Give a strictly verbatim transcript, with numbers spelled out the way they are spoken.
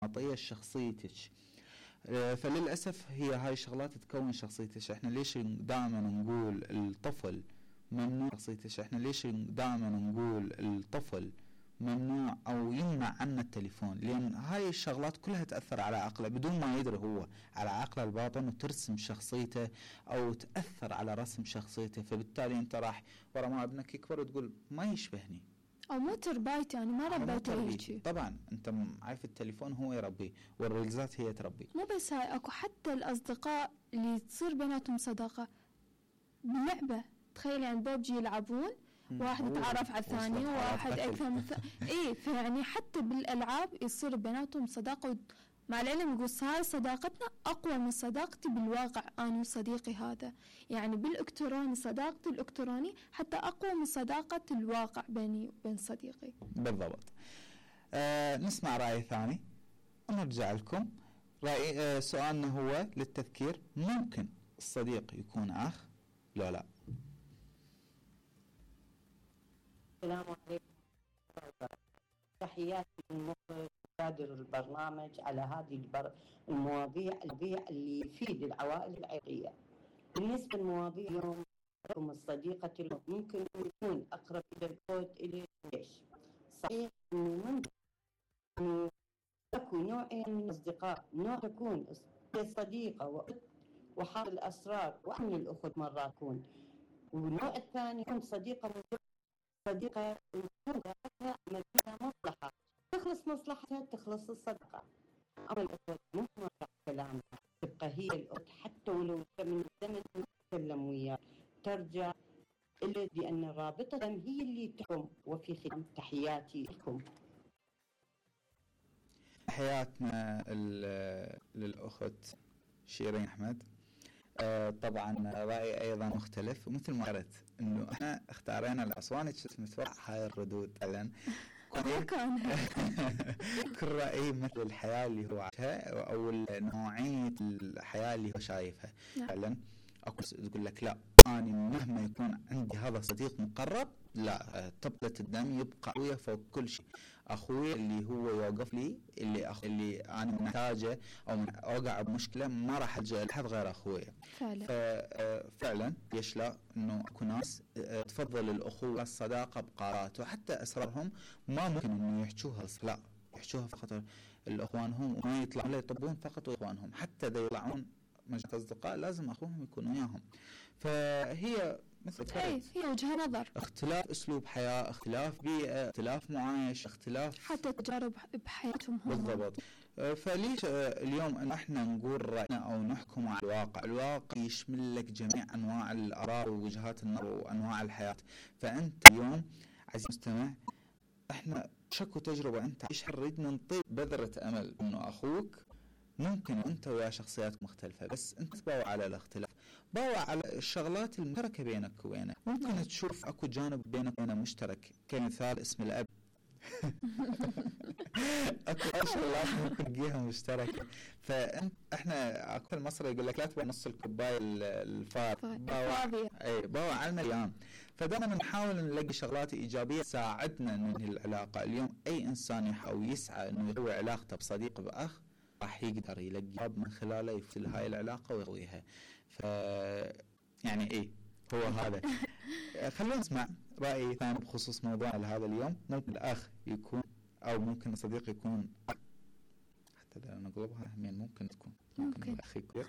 عطية شخصيتك. فللأسف هي هاي الشغلات تكون شخصيتك. احنا ليش دائما نقول الطفل ممنوع شخصيتك؟ احنا ليش دائما نقول الطفل ممنوع او يمنع عنا التليفون؟ لان هاي الشغلات كلها تأثر على عقله بدون ما يدري هو، على عقله الباطن، وترسم شخصيته او تأثر على رسم شخصيته. فبالتالي انت راح ورا ما ابنك يكبر وتقول ما يشبهني، او مو تربايتي، انا ما ربيته هيك. طبعا انت عارف التليفون هو يربيه والريلزات هي تربيه. مو بس هاي، اكو حتى الاصدقاء اللي تصير بيناتهم صداقه باللعبه. تخيل يعني ببجي يلعبون، واحد يتعرف على الثاني وواحد اكثر من اي فيعني حتى بالالعاب يصير بيناتهم صداقه. مع العلم يقول هاي صداقتنا اقوى من صداقتي بالواقع انا وصديقي هذا. يعني بالالكتروني صداقتي الالكتروني حتى اقوى من صداقه الواقع بيني وبين صديقي. بالضبط. آه نسمع راي ثاني ونرجع لكم. راي آه سؤالنا هو للتذكير: ممكن الصديق يكون اخ لو لا؟ السلام عليكم، تحياتي للمخرج وكادر البرنامج على هذه البر... المواضيع المواضيع اللي تفيد العوائل العراقية. بالنسبة لمواضيع اليوم، الصديقة ممكن يكون أقرب إلى البعد إلى ليش؟ صحيح إنه ممكن أكو نوعين من الأصدقاء، نوع تكون صديقة وحامل الأسرار وأمن الأخت مرات تكون، والنوع الثاني يكون صديقة صديقة يكون لها مصلحة، تخلص مصلحتها تخلص الصدقة. أما الأخت ممكن كلامها تبقى هي الأخت حتى ولو من زمن تتكلم وياه ترجع إلا بأن الرابطة هي اللي تحكم. وفي ختام تحياتي لكم. حياتنا للأخت شيرين أحمد. آه طبعا رأيي أيضا مختلف، ومثل ما قلت إنه إحنا اختارينا الأسواني متوقع هاي الردود فعلا كل رأي مثل الحياة اللي هو عايشها أو نوعية الحياة اللي هو شايفها فعلا. أكو تقول لك لا أنا مهما يكون عندي هذا صديق مقرب لا، طبلة الدم يبقى أخويا فوق كل شيء. أخويا اللي هو يوقف لي، اللي أخ... اللي أنا محتاجه أو أوقع بمشكلة ما راح ألجأ لحد غير أخويا. فعلا فعلا ليش لا؟ إنه أكو ناس تفضل الأخوة الصداقة بقرارات وحتى أسرارهم ما ممكن إنه يحكوها، لا يحكوها فقط الأخوانهم وما يطلعون لا يطبون فقط إخوانهم، حتى إذا يطلعون مجموعة أصدقاء لازم أخوهم يكونوا وياهم. فهي مثل أي هي وجهة نظر، اختلاف أسلوب حياة، اختلاف بيئة، اختلاف معايش، اختلاف حتى تجارب بحياتهم هم. بالضبط. فليش اليوم أن احنا نقول رأينا أو نحكم على الواقع؟ الواقع يشمل لك جميع أنواع الآراء ووجهات النظر وأنواع الحياة. فأنت اليوم عزيزي المستمع احنا شكو تجربة أنت عايشها، نريد ننطي بذرة أمل إنه أخوك ممكن أنت ويا شخصيات مختلفة بس أنت تباوع على الاختلاف، باوع على الشغلات المشتركة بينك وبينه. ممكن تشوف أكو جانب بينك وبينه مشترك، كمثال اسم الأب أكو شغلات ممكن تلاقيها مشتركة. فإحنا أكو المصري يقول لك لا تبغى نص الكوباية الفاضي، باوع أي باوع على المليان. فدائما نحاول نلاقي شغلات إيجابية تساعدنا ننهي العلاقة. اليوم أي إنسان يحاول يسعى إنه يقوي علاقته بصديق بأخ راح يقدر يلاقي من خلاله يفصل هاي العلاقة ويقويها. ف يعني إيه هو هذا. خلونا نسمع رأي ثاني بخصوص موضوع هذا اليوم. ممكن الأخ يكون أو ممكن الصديق يكون، حتى لو نقلبها همين ممكن تكون ممكن, ممكن. الأخ يكون